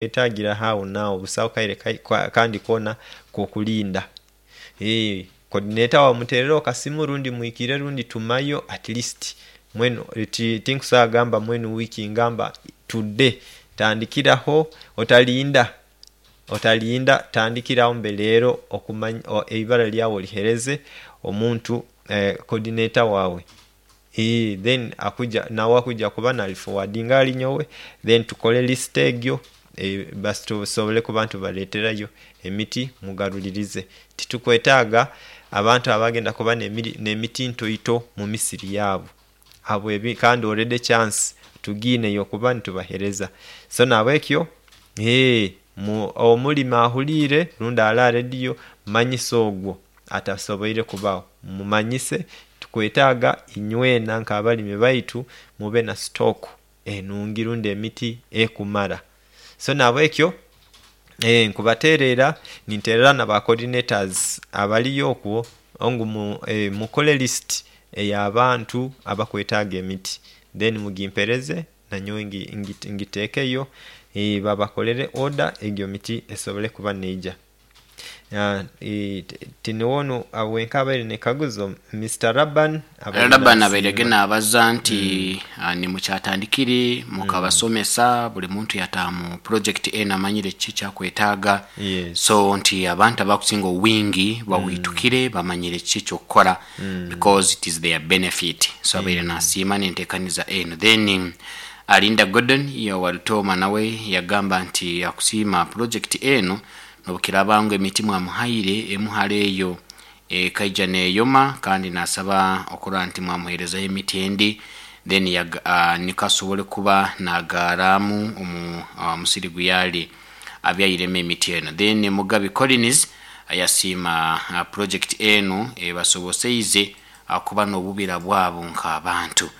Etagira agho naagho busawo kaire kandi koona kokulinda. Kodineta wawe mutereregho kasimu rundi mwikire rundi tumayo atilisiti mwenu tinkusobola gamba mwenu wiiki ngamba tude tandikiragho otalinda otalinda tandikiragho mbe leero okumanya eibara lyagho olighereze omuntu kodineta wawe then nagho akuja kuba nalifowadinga aghali nyowe then tukole lisiti egyo basi tusobole kuba nga tubaleterayo emiti mugalulirize. Titukwetaga abantu abagenda kuba n'emiti ntoito mu misiri yabu abo kandi olwedi kyansi tugiine eyokuba nitubaghereza. So nhabwekyo omulimi aghulire rundi ali aha lediyo manyisa ogwo atasoboire kubagho mumanyise tukwetaga inywena nk'abalimi baitu mube na sitooku enungi rundi emiti ekumala. So nhabwekyo nkubaterera ninterera na ba kodinetazi abaliyo okwo ngu mukole lisiti ey'abantu abakwetaga emiti then mugimpereze nanyowe ngitekeyo babakolere oda egyo miti esobole kuba neija. Tinigho ono wenka abaire n'ekaguzo Mister Laban abaire Laban abaire ge nasiima. naabaza nti nimukyatandikire mukabasomesa buli muntu yataaha mu pulojekiti eno amanyire kiki ekyakwetaaga Yes. so nti abantu abakusinga owingi baweitukire bamanyire kiki ekyokukora because it is their benefit so abaire nasiima nentekaniza eno then Alinda Gordon owa Lutooma nawe yagamba nti akusiima pulojekiti eno Nobukiraaba ngu emiti mwamuhaire emu hare eyo ekaija neyoma kandi nasaba okurora nti mwamuherezayo emiti endi then niko asobole kuba nagaaramu omu musiri guyali abyairemu emiti eno. Then Mugabi Collins yasiima project enu ebasoboseize kuba nobubira bwabo nk'abantu.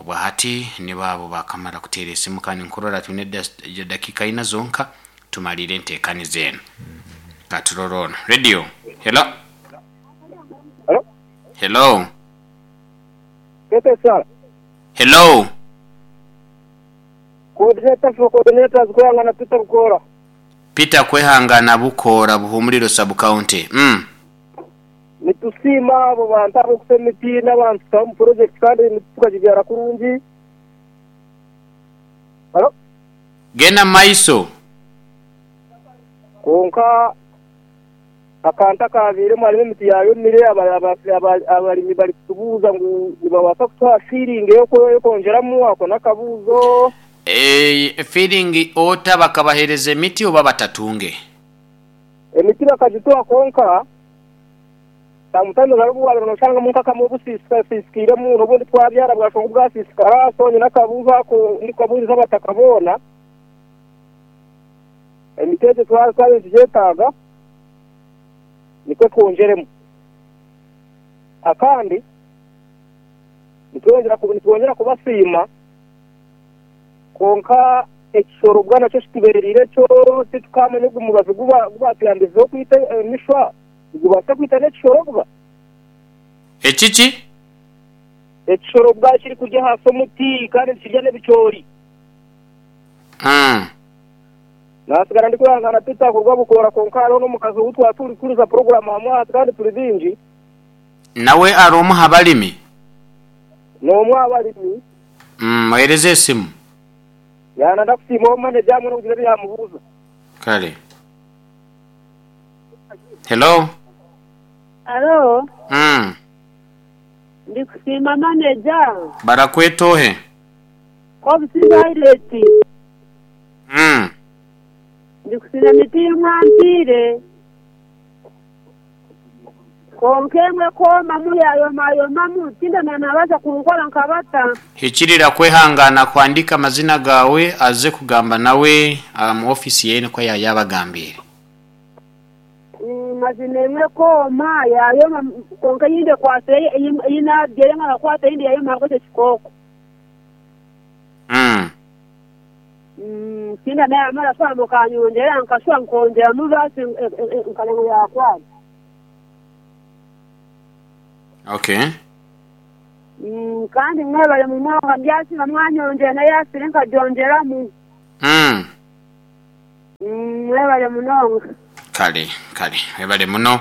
Obwahati nibo abo bakamara kuteera esimu kandi nkurora twine edakiika ina zonka Tumalire enteekaniza eno. Ka turore ono. Radio, hello? Hello? Hello? Tete Sara. Hello? Coordinator for coordinators Kwehangana Peter Bukoora. Peter Kwehangana Bukoora, Buhumuriro Sub County. Mm. Nitusiima abo bantu ab'okuta emiti n'abantu tutaho omu project kandi emiti tukagibyara kurungi. Hello? Genda mu maiso. Kwonka akantu akaabairemu harimu emiti yaayomire, abarimi barikutubuuza ngu nibabaasa kutuha fiiringi ey'okwongyeramu, ako n'akabuuzo. Fiiringi ota bakabaheereza emiti oba batatunge? Emiti bakagituha kwonka sometimes hariho obu waabaire nooshangamu nk'akamwe obusiisikairemu n'obundi twabyara bwashusha ngu bwasiisikara so nyine akabuuzo ako ndikukabuuriza abataka boona. Emiti egyo twaba twabaire nitugyetaaga nikwo twongyeremu. Akandi nitwongyera kubasiima kwonka ekishoro bwa nakyo kitubeereire kyo titukaamanya ogu mubazi ogu baatuyambizireho kwita emishwa nigubaasa kwita n'ekishoro bwa? Ekiki? Ekishoro bwa kirikurya ahansi omuti kandi nikirya n'ebicoori. Naatsigara ndikwehangaana tutaahurwa bukoora kwonka hariho n'omukazi ou twaba turikuriza puroguraamu hamwe aha kandi turi baingi. Nawe ari omwe aha barimi? N'omwe aha barimi. Muheereze esimu. Yaaba ndakusiimaho maneja hamwe n'okugira ebi yaamubuuza. Kare. Hello. Halo. Ndikusiima maneja. Barakweta ohe? Kobisi Violet. Ndikusiima emiti ei mwampiire. Kwonka emwe kwomamu yaayomayomamu, tindamanya naabaasa kunkora nka bata. Hikirira kwehangana kuhandiika amazina gaawe aze kugamba nawe omu ofiisi yeye nikwo yaayabagambiire. Mazima emwe kwoma yaayoma kwonka eyindi ekwatsire ei naabyire nkakwata eyindi yaayoma ahabw'ekyo kikooko. Tindamanya yaamara kushwa mukanyongyera nkashwa nkongyeramu baasi nkareeba ngu yaakwata. Okay. Kandi mwebare munonga ndyasiima mwanyongyera n'eyaasire nkagyongyeramu. Mwebale munonga. Kale kale webale muno.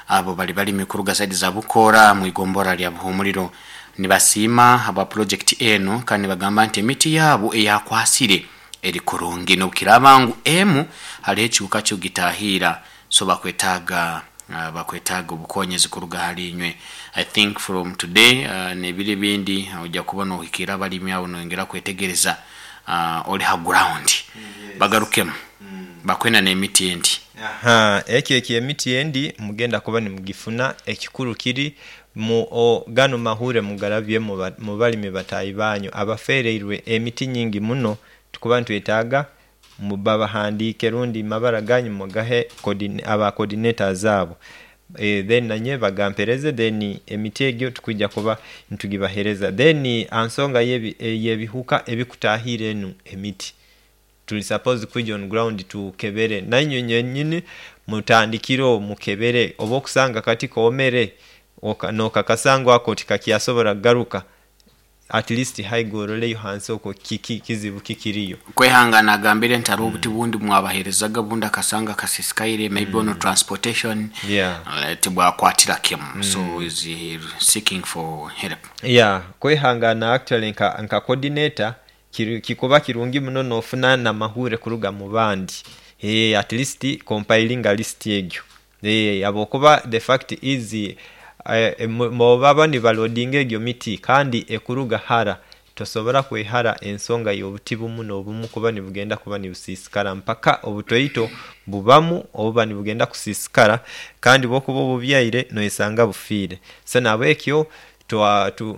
Abo bali balimi kuruga saidi za Bukoora mu igombolola lya Buhumuriro nibasiima habwa pulojekiti enu kandi nibagamba nti emiti yaabo eyakwasire eri kurungi nobukiraaba ngu emu hariho ekihuka kikugitahiira so bakwetaaga bakwetaaga obukonyezi kuruga hali inywe. I think from today nebiro ebindi oija kuba nohikiira abalimi abo noyongera kwetegereza ori ha ground bagarukemu bakwenda n'emiti endi. Aha, ekyo eky'emiti endi mugenda kuba nimugifuna, ekikulu kiri mu o gano mahure mugarabye mu balimi bataahi banyu abafereirwe emiti nyingi muno. Tukuba nitwetaaga babahandiike rundi mabara ganyu mugahe aba coordinators abo then nanye bagampereze then emiti egyo tukwija kuba nitugibahereza. Then aha nsonga y'ebihuka ebikutaahirra enu emiti, tuli supposed kwija on ground tukebere nainywe nyenyini mutandikireho mukebere oba okusanga akati koomere nokakasa ngu ako tikakyasobora kugaruka at least haiga oroleyo hansi okwo kiki kizibu ki kiriyo. Kwehangana agambire nti hariho obuti bundi bumwabaherezaga obundi akasanga kasisikaire maybe on transportation tibwakwatira kimu so is seeking for help. Yeah, kwehangana actually nka nka coordinator kiri kikuba kirungi muno nofuna namahure kuruga mubandi eeh at least compilinga list egyo eeh habwokuba the fact is baba nibalodinga egyo miti kandi ekuruga hara tosobora kwehara ensonga y'obuti bumu n'obumu kuba nibugenda kuba nibusiisikara mpaka obutoito bubamu obuba nibugenda kusiisikara kandi bwokuba obubyaire noyesanga bufiire. So nahabwekyo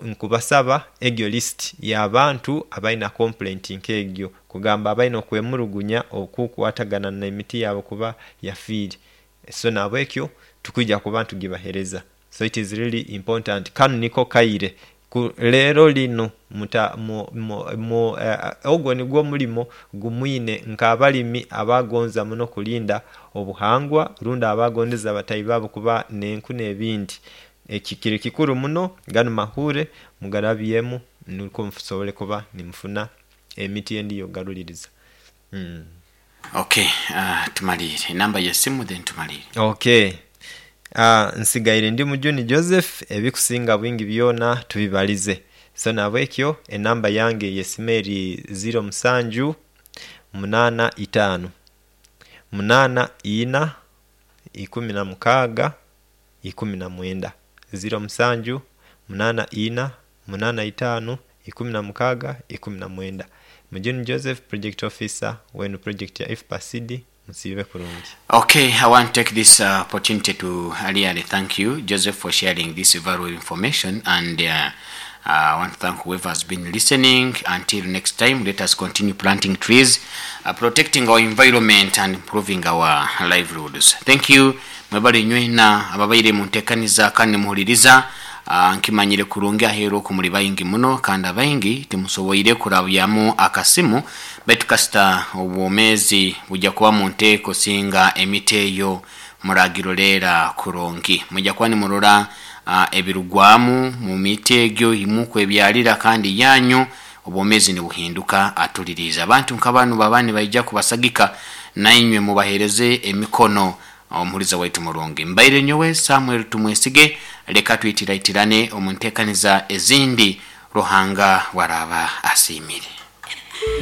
nkubasaba egyo list y'abantu abaina complaint nk'egyo kugamba abaine okwemurugunya okukwatagana n'emiti yaabo kuba yafiire. So nahabwekyo tukwija kuba nitugibahereza. So it is really important. Kanu niko kaire ku leero lino muta mu mu mu ogwo nigwo omulimo gumwine nk'abalimi abagonza muno kulinda obuhangwa rundi abagondeza batahi baabo kuba n'enku n'ebindi. Eki kiri kikuru muno, ganu mahure mugarabyemu nukwo musobole kuba nimufuna emiti endi y'okugaruliriza. Ok tumaliire enamba yesimu then tumaliire. Ok nsigaire ndi Mujuni Joseph ebikusinga bwingi byona tubibalize so nahabwekyo enamba yange yesimu eri ziro musanju munana itano munana ina 16 19, 07 8 4 8 5 16 19. Mujuni Joseph Project Officer w'enu purojekiti ya IFPA-CD musiibe kurungi. Ok, I want to take this opportunity to really thank you Joseph for sharing this valuable information and I want to thank whoever has been listening until next time let us continue planting trees, protecting our environment and improving our livelihoods. Thank you mwebale nywena ababaire muntekaniza kandi nimuhuririza. Nkimanyire kurungi aheeru oku muri baingi muno kandi abaingi timusoboire kurabyamu akasimu baitu kasita obwomeezi bwija kuba munteeko singa emiti eyo muragiroreera kurungi. Mwija kuba nimurora ebirugwamu mu miti egyo eyimukwebyarira kandi yanyu obwomeezi nibuhinduka atuliriize. Abantu nka banu baba nibaija kubasagika nainywe mubaheereze emikono. Omuhuriza waitu murungi. Mbaire nyowe Samuel Tumwesige, leka twitiraitirane omu ntekaniza ezindi Ruhanga bwaraaba asiimire.